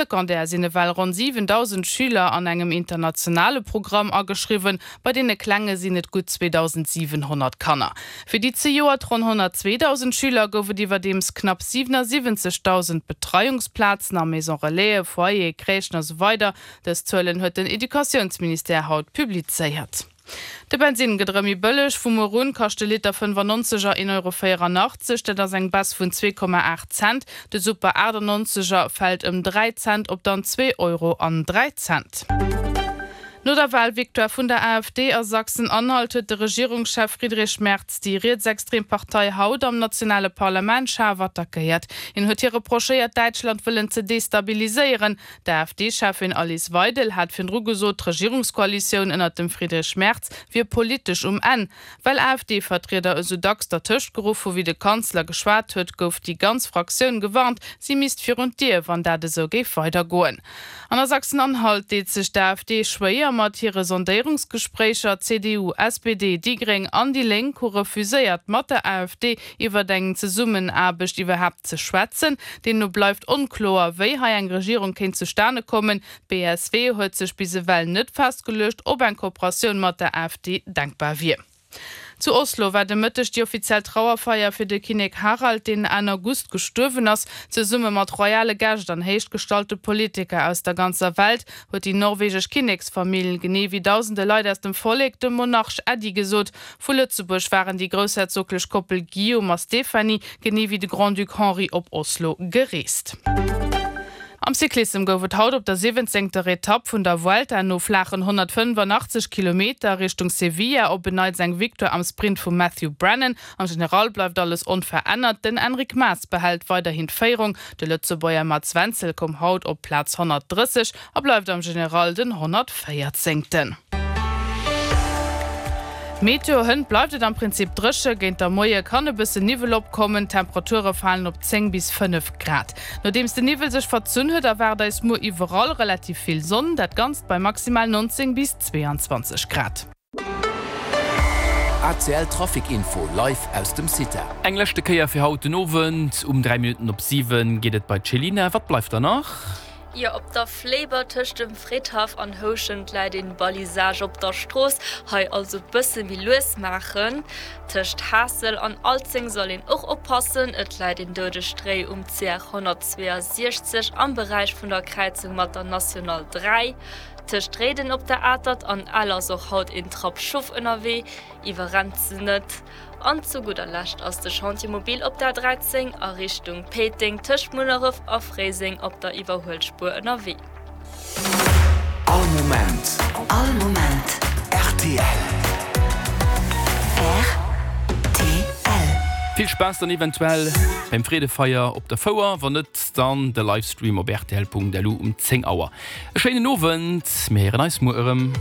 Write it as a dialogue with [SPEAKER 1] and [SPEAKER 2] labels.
[SPEAKER 1] Secondaire sinn ewell ronn 7.000 Schüler an engem internationale Programm ageschriwwen, bei deene Klenge sinn et gutt 2.700 Kanner. Fir déi zejoert ronn 102.000 Schüler gouf et iwwerdeems knapp 77.000 Betreiungsplazen a Maison Relaisen, Foyere, Crèchen a sou weider Dës Zuelen huet den Educatiounsministère haut publizéiert. De Bensinn gëtt erëm méi bëlleg, Vu muer un kascht de Liter 95 er 1,84 Euro, dat ass eng Baisse vun 2,8 Cent. De Super 98 er fält ëm 3 Cent op dann 2 Euro an 3 Cent. No der Walvictoire vun der AfD a Sachsen-Anhalt huet de Regierungschef Friedrich Merz déi rietsextrem Partei haut am nationale Parlament schaarf attackéiert. Hien huet hir reprochéiert, Däitschland wëllen ze destabiliséieren. D'AfD-Cheffin Alice Weidel hat virdru gesot, d'Regierungskoalitioun ënnert dem Friedrich Merz wier politesch um Enn. Well AfD-Vertrieder esou dacks dertëscht geruff hu wéi de Kanzler geschwat huet, gouf déi ganz Fraktioun gewarnt, si misst virun d'Dier, wann dat esou géif weidergoen. An a Sachsen-Anhalt deet sech d'AfD schwéier mat hire Sondéierungsgespréicher. CDU, SPD, déi Gréng an déi Lénk hu refuséiert, mat der AfD iwwert eng Zesummenaarbecht iwwerhaapt ze schwätzen. Deemno bleift onkloer, wéi hei eng Regierung kéint zustane kommen. D'BSW huet sech bis ewell net festgeluecht, ob eng Kooperatioun mat der AfD denkbar wier. Zu Oslo war de Mëtteg déi offiziell Trauerfeier fir de Kinnek Harald, deen Enn August gestuerwen ass. Zesumme mat royale Gäscht an héichgestallte Politiker aus der ganzer Welt huet déi norwegesch Kinneksfamill, genee wéi dausende Leit aus dem Vollek, dem Monarch Äddi gesot. Vu Lëtzebuerg waren déi groussherzoglech Koppel Guillaume a Stéphanie, genee wéi de Grand-Duc Henri op Oslo gereest. Am Cyclissem gouf et haut op der siwwenzéngter Etapp vun der Vuelta no flaachen 185 Kilometer Richtung Sevilla op en Neits eng Victoire am Sprint vum Matthew Brennan. Am General bleift alles onverännert, den Enric Mas behält weiderhin d'Féierung, de Lëtzebuerger Mats Wenzel koum haut op Plaz 130 A bleift am General den 114. Meteo, Hënt bleift et am Prinzip dréche, géint der Moie kann e bësse Niwwel opkommen, d'Temperature falen op 10 bis 5 Grad. Nodeems de Niwwel sech verzunn huet, erwaart eis muer iwwerall relativ vill Sonn, dat Ganzt bei maximal 19 bis 22 Grad.
[SPEAKER 2] ACL Trafic Info live aus dem CITA.
[SPEAKER 3] Eng leschte Kéier fir haut den Owend. Um 3 Minutten op 7 geet et bei d'Chelina. Wat bleift da nach?
[SPEAKER 4] Jo, op der Fléiber tëscht dem Fridhaff an Houschent läit een Balisage op der Strooss, hei also bësse méi lues maachen. Tëscht Haassel an Alzeng soll een och oppassen, et läit een doudegt Réi um CR 162 am Beräich vun der Kräizung mat der National 3. Tëscht Réiden op der Atert an Ell ass och haut een Trapp Schof ënnerwee, iwwerrennt se net. An zu gudder Lescht ass de Chantier mobile op der 13 a Richtung Péiteng tëscht Munneref a Fréiseng op der Iwwerhuelspuer ënnerwee.
[SPEAKER 2] All Moment.
[SPEAKER 5] All Moment.
[SPEAKER 2] Rtl.
[SPEAKER 5] Rtl.
[SPEAKER 3] Vill Spaass dann eventuell beim Freedefeier op der Fouer, wann net dann de Livestream op rtl.lu um 10 Auer. E schéinen Owend, mir héieren eis muer erëm.